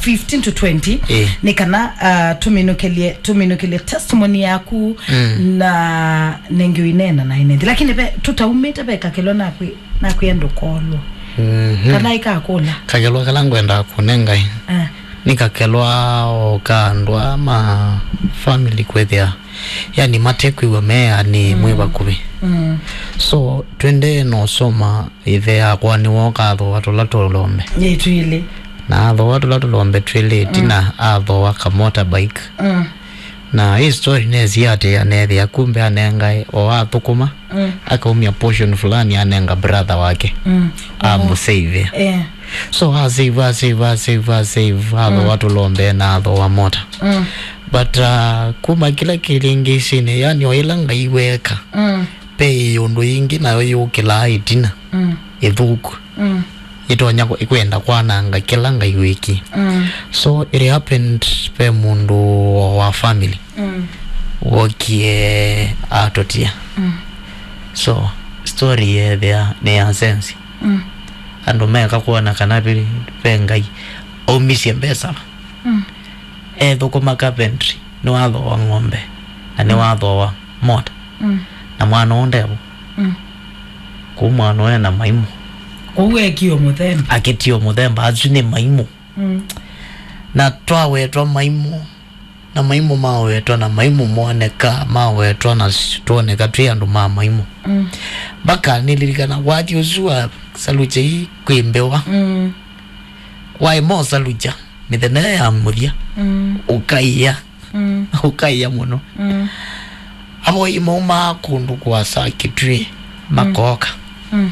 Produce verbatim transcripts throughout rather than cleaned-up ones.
fifteen to twenty, eh, nĩ kana, uh, tũminũkĩlye, tũminũkĩlye testimony yaku, mm, na nengĩ ũineena na ĩnethi. Lakini ve, tũtaumĩte ve kakelwa nakwĩ, nakwĩa ndũkolwa. Mhm. Kana ikakũla. Kakelwa kala ngwendaa kũnenga ĩ, ah, nĩ kakelwa o ka andũ aa ma family kwĩthĩa, yani, matekwĩw'a meanĩ, mm, mwĩ vakuvĩ. Mm. So, twendee na ũsoma. Ĩthe yakwa nĩwooka athooa tũla tũlombe. Yĩ twĩlĩ. Na athooa tũla tũlombe twĩlĩ, mm, ĩtina athooa ka motorbike. Mm. Na hii story nesie atĩ aneethĩa kumbe anengae o athũkũma, mm, akaumya portion fulani anenga brother wake. Mm. Amũsave. Eh. So asave, asave, asave, asave, athooa, mm, tũlombe na athooa mota. Mm. But, uh, kuma kĩla kĩlĩngĩsinĩ, yani o ĩla Ngai weka, mm, ve ũndũ yĩngĩ nayo yũkĩlaa ĩtina, mm, ĩthũku. Mm. Ĩtonya kũ-, ĩkwenda kwananga kĩla Ngai wĩkie. Mm. So it happened, ve mũndũ wa family, mm, wokie atũtia. Mm. So story yeethĩa nĩ ya sense. Mm. Andũ meka kwona kana ve, ve Ngai aumisye mbesa. Mm. Ethũkũma carpentry, nĩwathooa ng'ombe, na nĩwathooa mota. Mm. Na mwana ũũ ndevo. Mm. Kũu mwana ũũ ena maimũ. Kũu ekio mũthemba. Akĩtio mũthemba, asu nĩ maimũ. Mm. Na twawetwa maimũ, na maimũ mawetwa, na maimũ moneka, mawetwa, na s-, twoneka twĩ andũ ma maimũ. Mm. Mpaka nĩlilikana wathi ũsu wa Salukya ii kwĩ mbĩwa. Mm. Waĩ mosaluja, mĩthenya ya mũthya, mm, ũkaĩa. Mm. Ũkaĩa mũno. Mm. Avoyi maumaa kũndũ kũasa Kitui, mm, makooka. Mm.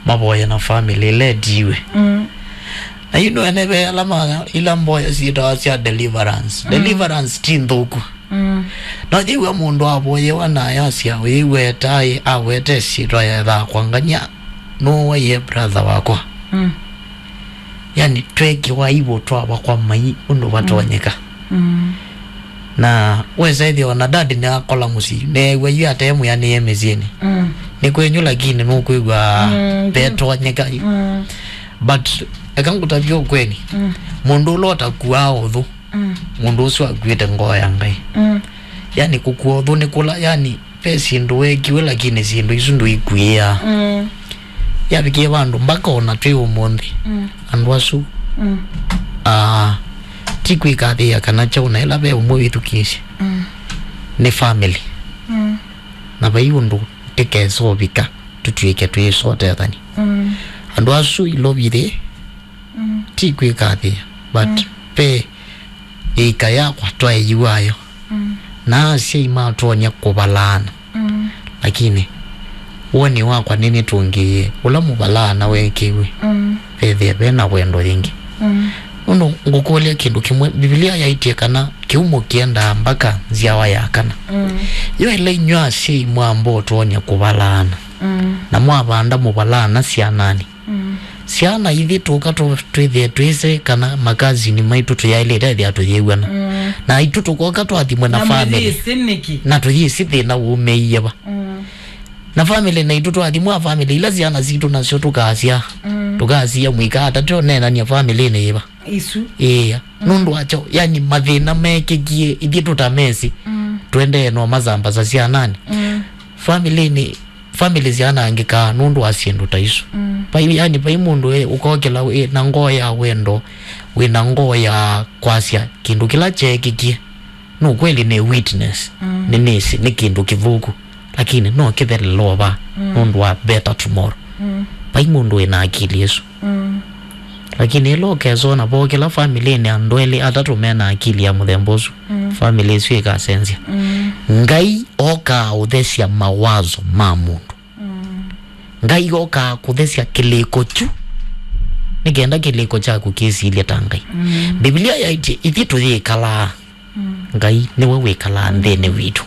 Mavoye na family ĩla ĩtiwe. Mm. Na yu nĩwene ve ala ma, ila mboya syĩtawa sya deliverance. Mm. Deliverance ti nthũku. Mm. No yĩw'a mũndũ avoyewa na ayasya, ũyĩw'a etaĩ, awete syĩtwa ya Thakwangany'a, nũwaie brother wakwa. Mm. Yani, twekiwa aibu twava kwa mai ũndũ vatonyeka. Mm. Na wesa ĩthĩa ona dad nĩakola mũsyĩ, neew'a yu atemwĩanĩe mĩsyĩnĩ. Mm. Nĩ kwenyu, lakini nũkwĩw'a, mm, vetonyeka. Mm. But eka ngũtavye ũkweli. Mm. Mũndũ ũla ũtakuaa ũthũ, mm, mũndũ ũsu akuĩte ngoo ya Ngai. Mm. Yani, kũkua ũthũ nĩ kũla, yani, ve syĩndũ weekiwe, lakini syĩndũ isu ndũikuĩaa. Mm. Yavikie vandũ mpaka ona twĩ ũmũnthĩ, mm, andũ asu, mm, ah, ti kwĩkathĩĩa kana kyaũ, na ĩla ve ũmwe wĩthukĩĩsye, mm, nĩ family. Mm. Na vai ũndũ tĩkesa ũvika tũtw'ĩke twĩsotethani. Mm. Andũ asu ilovithĩ, mm, ti kwĩkathĩĩa, but, mm, ve ĩika yakwa twaeiwayo. Mm. Na asyai matonya kũvalaana. Mm. Lakini woni wakwa nĩnĩtũngĩie ũla mũvalaana weekĩiwe. Mm. Vethĩa ve na wendo yĩngĩ. Mm. Nũndũ ngũkũlya kĩndũ kĩmwe, Mbivilia yaĩtye kana kĩumo kĩendaa mbaka nzyawa ya kana. Mm. Yo ĩla inyw'a asyai mwamba ũtonya kũvalaana, mm, na mwavanda mũvalaana syananĩ, mm, syana ithi tũka tũ-, twĩthĩe twĩsĩ kana makazini maitũ tũyaĩlĩte ethĩa tũyĩw'ana. Mm. Na aitũ tũkoka twathimwe na, na family. Mũyĩsĩ nĩkĩ? Na tũyĩsĩ thĩna wumĩie va. Mm. Na family naitũ twathimwa family ila syana sitũ nasyo tũkasya. Mm. Tũkasya mũika ata tũneenania family-inĩ yĩva. Isu. Ĩĩa. Mm. Nũndũ wakyo, yani mathĩna mekĩkie ithyĩ tũtamesĩ. Mm. Tũendee no masambasa syananĩ. Mm. Family-inĩ family syanangĩkaa nũndũ wa syĩndũ ta isu. Mm. Vai, yani, vai mũndũ e, ũkokĩla wĩ na ngoo ya wendo, wĩ na ngoo ya kwasya kĩndũ kĩla kyeekĩkie. No kweli nĩ witness, mm, nĩnĩsĩ nĩ kĩndũ kĩthũku, lakini no kĩthelelova, mm, nũndũ wa better tomorrow. Mm. Vai mũndũ wĩ na akili ĩsu. Mm. Lakini ĩla ũkesona vo kĩla family-inĩ andũ elĩ atatũ me na akili ya mũthemba ũsu, mm, family ĩsu ĩkasenzya. Mm. Ngai okaa ũthesya mawazo ma mũndũ. Mm. Ngai okaa kũthesya kĩlĩko kyu, nĩ kenda kĩlĩko kyaku kĩsilye ta Ngai. Mm. Mbivilia yaĩtye ithyĩ tũyĩkalaa. Mm. Ngai nĩwe wĩkalaa nthĩnĩ witũ.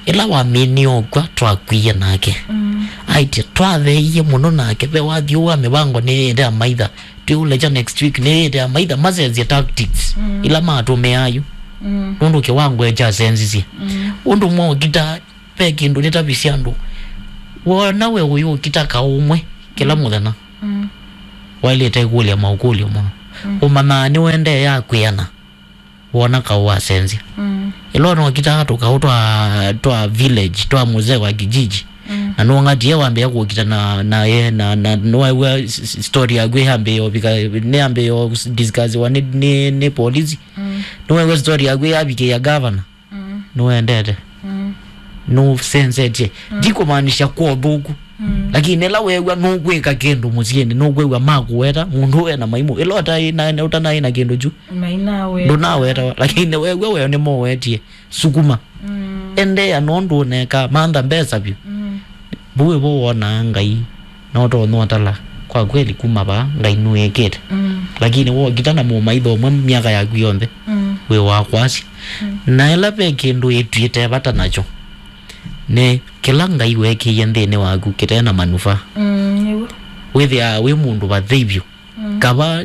Ĩla wamini okw'a twakwie nake. Mm. Aĩtye twatheeie mũno nake, ve wathi ũũ wa mĩvango nĩyĩte amaitha. Twĩũlekya next week nĩyĩte amaitha masenzye tactics, mm, ila matũmĩaa yu. Mm. Nũndũ kĩwango kyasenzisye. Mm. Ũndũ mwaũkita, ve kĩndũ nĩtavisye andũ. Wona we ũyũkita kaũ ũmwe kĩla, mm, mũthenya. Mm. Waĩlĩte kũlya maũkũlyo moo. Mm. Ũmanyaa nĩwendee ya kwĩana, wona kaũ wasenzya. Mm. Ĩla ũnokitaa tũkaũ twa, twa village, twa mzee wa kijiji. Mm. Na nũngatie wambĩa kũkita na, na ye, na, na nĩwew'a s-, s-, story yaku yambĩa ũvika, nĩyambĩa discussiwa nĩ, nĩ, nĩ polisi. Mm. Nĩwew'a story yaku yavikĩa governor. Mm. Nũendete. Mm. Nũsenzetye. Mm. Ndikumaanisha kwa ũthũku. Mm. Lakini ĩla weew'a nũkwĩka kĩndũ mũsyĩnĩ, nũkwĩw'a makũweta, mũndũ ũũ ena maimũ. Ĩla ũtaĩ na, ũtanaĩ na kĩndũ kyu, mainaweta, ndũnawetawa. Lakini weew'a weo nĩmowetie, sukuma. Mm. Endeea nũndũ ũneka, mantha mbesa vyũ. Mm. Vau ĩvo wonaa Ngai, na ũtonya ũtala, kwa kweli kuma vaa, Ngai nũĩkĩte. Mm. Lakini wokita na mũmaitho ũmwe myaka yaku yonthe, mm, wĩ wa kwasya. Mm. Na ĩla ve kĩndũ ĩtw'ĩte vata nakyo, nĩ kĩla Ngai wekĩie nthĩnĩ waku kĩte na manufaa. Mm, nĩw'o. Wĩthĩaa wĩ mũndũ vathei vyũ. Mm. Kava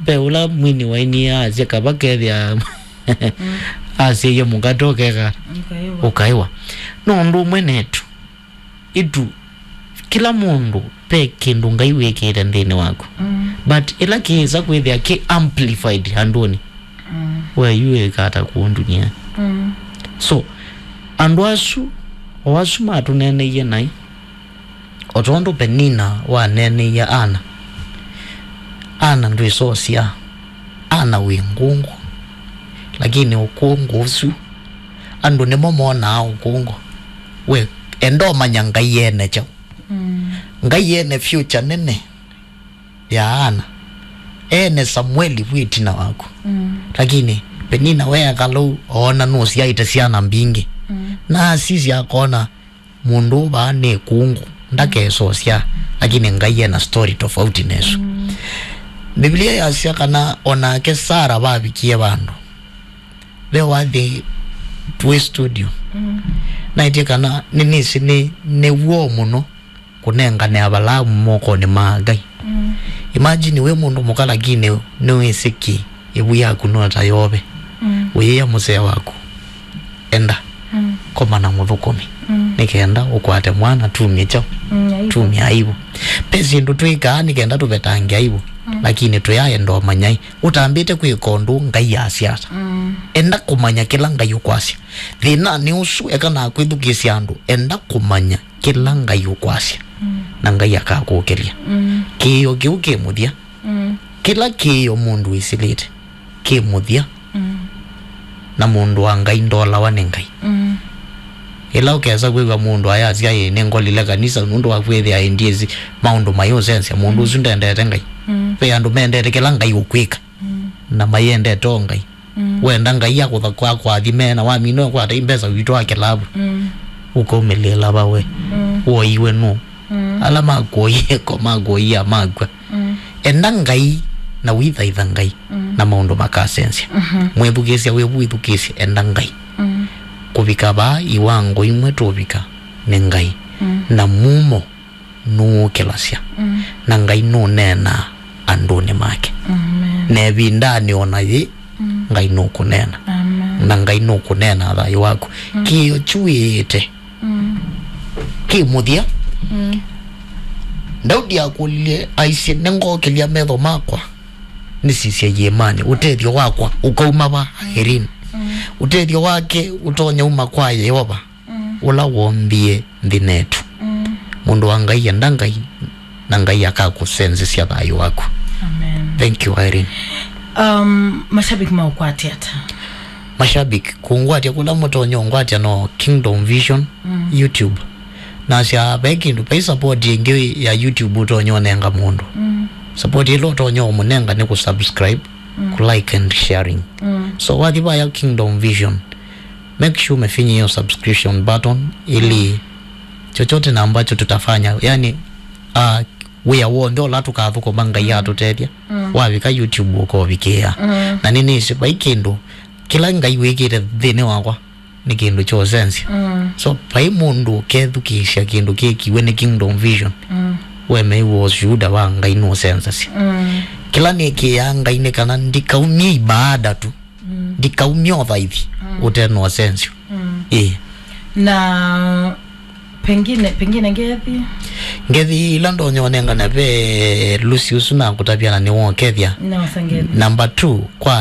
ve ũla mwini wainie asya, kava kethĩa, mm, asyaie mũkate ũkeka, ũkaĩwa. Ũkaĩwa. No ũndũ ũmwe netu, itu, kĩla mũndũ ve kĩndũ Ngai wĩkĩte nthĩnĩ waku. Mm. But ĩla kĩĩsa kwĩthĩa kĩ amplified andũnĩ, mm, we yu wĩka ata kũũ ndunia? Mm. So, andũ asu, o asu matũneneie naĩ, o tondũ Penina waneeneie Ana, Ana ndwĩsosya, Ana wĩ ngũngũ, lakini ũkũngũ ũsu, andũ nĩmo monaa ũkũngũ. We, enda ũmanya Ngai ene kyaũ. Mm. Ngai ene future nene ya Ana. Ene Samueli vu ĩtina waku. Mm. Lakini Penina weeka lou, oona nũsyaĩte syana mbingĩ. Mm. Na asisya akona, mũndũ ũũ vaa nĩ kũngũ, ndakesosya, lakini Ngai ena story tofauti nesu. Mm. Biblia yasya kana onake Sara vavikie vandũ. Ve wathi twĩ studio. Mm. Naĩtye kana nĩnĩsĩ nĩ, nĩ w'o mũno kũnengane Avalaamu mokonĩ ma Ngai. Mm. Imagine wĩ mũndũ mũka lakini nĩwĩsĩ kĩ, ĩvu yaku no ta yove. Mm. Wĩĩa mũsee waku, enda, mm, koma na mũthũkũmi. Mm. Nĩ kenda ũkwate mwana, tumye kyaũ? Mm, aibu. Tumye aibu. Ve syĩndũ twĩkaa nĩ kenda tũvetange aibu. Mm. Lakini tũyaenda ũmanyai. Ũtambĩte kwĩka ũndũ Ngai asya ata. Mm. Enda kũmanya kĩla Ngai ũkwasya. Thĩnanĩ ũsu, eka na kwĩthukĩĩsya andũ. Enda kũmanya kĩla Ngai ũkwasya, mm, na Ngai akakũkĩlya. Mm. Kĩĩo kĩu kĩ mũthya. Mm. Kĩla kĩĩo mũndũ wĩsĩlĩte kĩ mũthya. Mm. Na mũndũ wa Ngai ndolawa nĩ Ngai. Mm. Ĩla ũkesa kwĩw'a mũndũ ayasya, "Ĩĩ, nĩngolile kanisa nũndũ wa kwĩthĩa ĩĩ ndyĩsĩ maũndũ mayĩũsenzya," mũndũ ũsu ndendete Ngai. Mm. Ve andũ mendete kĩla Ngai ũkwĩka, mm, na mayendete o Ngai. Mm. Wenda Ngai akũtha-, kwa-, akũathime, na wamina ũkwata imbesa witũ wa kĩlavu. Mm. Ũkaumĩlĩĩla va we? Mm. Woiwe nũ? Mm. Ala makuoie ko makuoia makw'a. Mm. Enda Ngai na wĩthaitha Ngai, mm, na maũndũ makasenzya. Mhm. Mwĩthukĩĩsya wĩ vu wĩthukĩĩsye, enda Ngai. Mm. Kũvika vaa iwango imwe tũvika nĩ Ngai. Mm. Na mumo nũũkĩlasya. Mm. Na Ngai nũneenaa andũnĩ make. Amen. Na ĩvindanĩ o na yĩ, mm, Ngai nũkũneena. Amen. Na Ngai nũkũneena thayũ waku. Mm. Kĩĩo kyuĩĩte, mm, kĩ mũthya. Mm. Daudi akũlilye, aisye, "Nĩngokĩlya metho makwa nĩsisye iĩmanĩ, ũtethyo wakwa ũkauma va, Irene?" Mm. Ũtethyo wake ũtonya uma kwa Yeova. Mm. Ũla woombie nthĩ netu. Mm. Mũndũ wa Ngai, enda Ngai, na Ngai akakũsenzesya thayũ waku. Amen. Thank you, Irene. Um, mashabiki maũkwate ata? Mashabiki, kũngwatya kũla mũtonya ũngwatya no Kingdom Vision, mm, YouTube. Nasya, ve kĩndũ, ve support ĩngĩ ya YouTube ũtonya ũnenga mũndũ. Mm. Support ĩla ũtonya ũmũnenga nĩ kũ subscribe, mm, kũ like and sharing. Mm. So, wathi vaya Kingdom Vision, make sure umefinya hiyo subscription button ili, mm, chochote na ambacho tutafanya, yani, ah, wĩa w'onthe ũla tũkathũkũma Ngai, mm, atũtethya, mm, wavika YouTube ũkovikĩĩa. Mm. Na nĩnĩsĩ vai kĩndũ kĩla Ngai wĩkĩte nthĩnĩ wakwa nĩ kĩndũ kya ũsenzya. Mm. So, vai mũndũ ũkethukĩĩsya kĩndũ kĩkiwe nĩ Kingdom Vision, mm, wemeiwa ũsyuda wa Ngai nũsenzasya. Mm. Kĩla nĩkĩaa Ngai nĩ kana ndikaumye ibaada tu. Mm. Ndikaumye ũthaithi, mm, ũte na ũsenzyo. Mm. Ĩĩ. Na Pengine, pengine ngethi. Ngethi ila ndonya ũnengane ve Lucy ũsu na kũtavya na nĩwokethya. Nĩwosa ngethi. Number two, kwa